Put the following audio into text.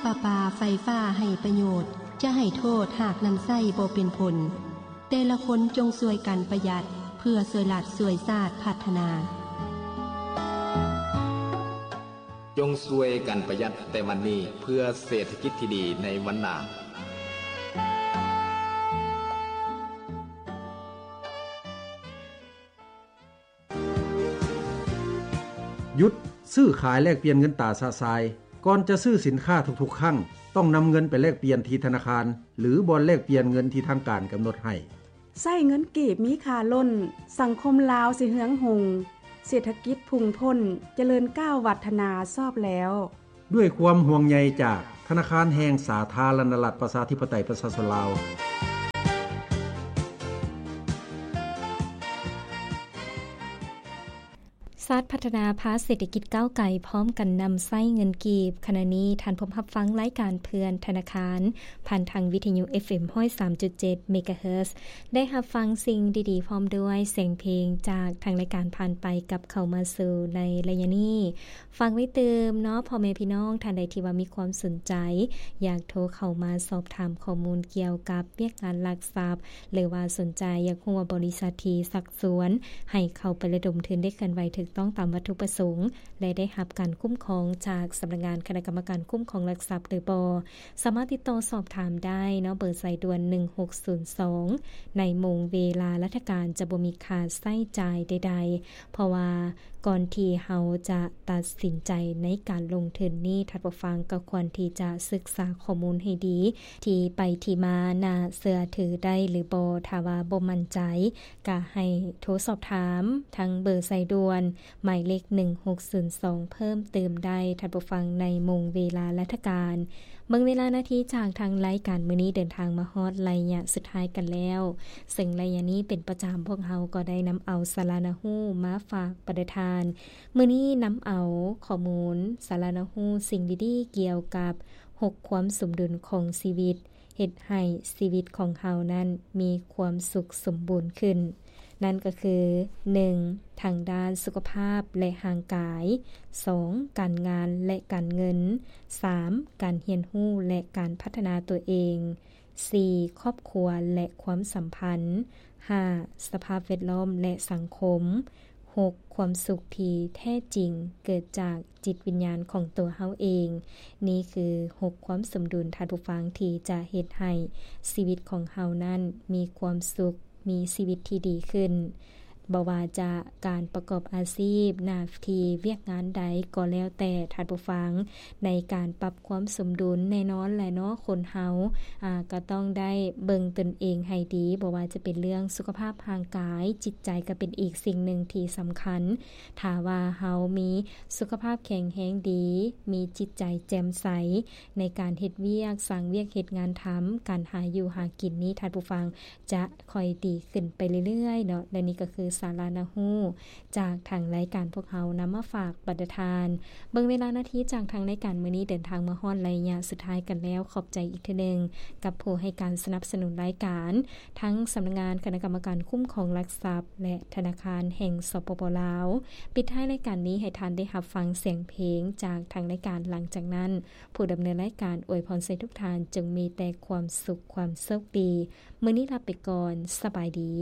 ປະປາໄຟຟ້າໃຫ້ປະໂຫຍດ, ຈະໃຫ້ໂທດຫາກນຳໃຊ້ບໍ່ເປັນຜົນ. ແຕ່ລະຄົນຈົ່ງຊ່ວຍກັນປະຢັດ ເພື່ອຊ່ວຍລັດຊ່ວຍຊາດພັດທະນາ. ຈົ່ງຊ່ວຍກັນປະຢັດແຕ່ວັນນີ້ ເພື່ອເສດຖະກິດທີ່ດີໃນວັນໜ້າ. ຢຸດຊື້ຂາຍແລກປ່ຽນເງິນຕາຊະຊາຍ. ກ່ອນຈະຊື້ສິນຄ້າທຸກໆຄັ້ງ, ຕ້ອງນຳເງິນໄປແລກປ່ຽນທີ່ທະນາຄານ ຫຼື ບ່ອນແລກປ່ຽນເງິນທີ່ທາງການກຳນົດໃຫ້. ໃຊ້ເງິນກີບມີຄ່າລົ້ນ, ສັງຄົມລາວຊິເຮືອງຮຸ່ງ, ເສດຖະກິດພຸ່ງພົ້ນ, ຈະເລີນກ້າວວັດທະນາຊອບແລ້ວ. ດ້ວຍຄວາມຫ່ວງໃຍຈາກທະນາຄານແຫ່ງສາທາລະນະລັດ ປະຊາທິປະໄຕ ປະຊາຊົນລາວ. ຊາດພັດທະນາພາເສດຖະກິດກ້າວໄກ ພ້ອມກັນນຳໃຊ້ເງິນກີບ. ຂະນະນີ້ທ່ານພົມຮັບຟັງລາຍການເພື່ອນທະນາຄານ ຜ່ານທາງວິທະຍຸ ເອຟເອັມ ຮ້ອຍສາມຈຸດເຈັດ ເມກາເຮີດ. ໄດ້ຮັບຟັງສິ່ງດີໆ ພ້ອມດ້ວຍແສງເພງຈາກທາງລາຍການ ຜ່ານໄປກັບເຂົ້າມາສູ່ໃນໄລຍະນີ້. ຝາກໄວ້ຕື່ມເນາະ ພໍ່ແມ່ພີ່ນ້ອງທ່ານໃດທີ່ວ່າມີຄວາມສົນໃຈ ຢາກໂທເຂົ້າມາສອບຖາມຂໍ້ມູນກ່ຽວກັບວຽກງານຫຼັກຊັບ ຫຼືວ່າສົນໃຈຢາກຮູ້ວ່າບໍລິສັດທີ່ຊັກຊວນໃຫ້ເຂົ້າໄປລະດົມທຶນໄດ້ເຄື່ອນໄຫວຖືກຕ້ອງຕາມວັດຖຸປະສົງ ແລະ ໄດ້ຮັບການຄຸ້ມຄອງຈາກສຳນັກງານຄະນະກຳມະການຄຸ້ມຄອງຫຼັກຊັບຫຼືບໍ່ ສາມາດຕິດຕໍ່ສອບຖາມໄດ້ເນາະ ເບີສາຍດ່ວນ ໜຶ່ງຫົກສູນສອງ ໃນໂມງເວລາລາຊະການຈະບໍ່ມີຄ່າໃຊ້ຈ່າຍໃດໆ ເພາະວ່າກ່ອນທີ່ເຮົາຈະຕັດສິນໃຈໃນການລົງທຶນນີ້ ທ່ານຜູ້ຟັງກໍຄວນທີ່ຈະສຶກສາຂໍ້ມູນໃຫ້ດີ ທີ່ໄປທີ່ມາ ໜ້າເຊື່ອຖືໄດ້ຫຼືບໍ່. ຖ້າວ່າບໍ່ໝັ້ນໃຈ ກໍໃຫ້ໂທສອບຖາມທາງເບີສາຍດ່ວນ ໝາຍເລກ ໜຶ່ງຫົກສູນສອງ ເພີ່ມເຕີມໄດ້ ທ່ານຜູ້ຟັງ ໃນໂມງເວລາລາຊະການ. ເບິ່ງເວລານາທີຈາກທາງລາຍການມື້ນີ້ເດີນທາງມາຮອດໄລຍະສຸດທ້າຍກັນແລ້ວ, ເຊິ່ງໄລຍະນີ້ເປັນປະຈຳ ພວກເຮົາກໍໄດ້ນຳເອົາສາລະໜ້າຮູ້ມາຝາກປະທ່ານ. ມື້ນີ້ນຳເອົາຂໍ້ມູນສາລະໜ້າຮູ້ສິ່ງດີໆກ່ຽວກັບຫົກຄວາມສົມດຸນຂອງຊີວິດ ເຮັດໃຫ້ຊີວິດຂອງເຮົານັ້ນມີຄວາມສຸກສົມບູນຂຶ້ນ. ນັ້ນກໍຄື ໜຶ່ງ ທາງດ້ານສຸຂະພາບ ແລະ ຮ່າງກາຍ, ສອງ ການງານ ແລະ ການເງິນ, ສາມ ການຮຽນຮູ້ ແລະ ການພັດທະນາຕົວເອງ, ສີ່ ຄອບຄົວ ແລະ ຄວາມສຳພັນ, ຫ້າ ສະພາບແວດລ້ອມ ແລະ ສັງຄົມ, ຫົກ ຄວາມສຸກທີ່ແທ້ຈິງເກີດຈາກຈິດວິນຍານຂອງຕົວເຮົາເອງ. ນີ້ຄືຫົກຄວາມສົມດຸນ, ທ່ານຜູ້ຟັງ, ທີ່ຈະເຮັດໃຫ້ຊີວິດຂອງເຮົານັ້ນມີຄວາມສຸກ, ມີຊີວິດທີ່ດີຂຶ້ນ. ບໍ່ວ່າຈະການປະກອບອາຊີບ, ໜ້າທີ່, ວຽກງານໃດກໍແລ້ວແຕ່, ທ່ານຜູ້ຟັງ, ໃນການປັບຄວາມສົມດຸນ, ແນ່ນອນແຫຼະເນາະ, ຄົນເຮົາ, ອາ, ກໍຕ້ອງໄດ້ເບິ່ງຕົນເອງໃຫ້ດີ, ບໍ່ວ່າຈະເປັນເລື່ອງສຸຂະພາບຮ່າງກາຍ, ຈິດໃຈກໍເປັນອີກສິ່ງໜຶ່ງທີ່ສຳຄັນ. ຖ້າວ່າເຮົາມີສຸຂະພາບແຂງແຮງດີ, ມີຈິດໃຈແຈ່ມໃສໃນການເຮັດວຽກ, ສ້າງວຽກເຮັດງານທຳ, ການຫາຢູ່ຫາກິນນີ້, ທ່ານຜູ້ຟັງ, ຈະຄ່ອຍດີຂຶ້ນໄປເລື້ອຍໆເນາະ. ແລະ ນີ້ກໍຄືສາລະໜ້າຮູ້ຈາກທາງລາຍການພວກເຮົານຳມາຝາກບັນດາທ່ານ. ເບິ່ງເວລານາທີຈາກທາງລາຍການມື້ນີ້ເດີນທາງມາຮອດໄລຍະສຸດທ້າຍກັນແລ້ວ. ຂອບໃຈອີກເທື່ອໜຶ່ງກັບຜູ້ໃຫ້ການສະໜັບສະໜູນລາຍການ, ທັງສຳນັກງານຄະນະກຳມະການຄຸ້ມຄອງຫຼັກຊັບ ແລະ ທະນາຄານແຫ່ງ ສປປ ລາວ. ປິດທ້າຍລາຍການນີ້ໃຫ້ທ່ານໄດ້ຮັບຟັງສຽງເພງຈາກທາງລາຍການ. ຫຼັງຈາກນັ້ນ ຜູ້ດຳເນີນລາຍການອວຍພອນໃຫ້ທຸກທ່ານຈົ່ງມີແຕ່ຄວາມສຸກ, ຄວາມໂຊກດີ. ມື້ນີ້ລາໄປກ່ອນ. ສະບາຍດີ.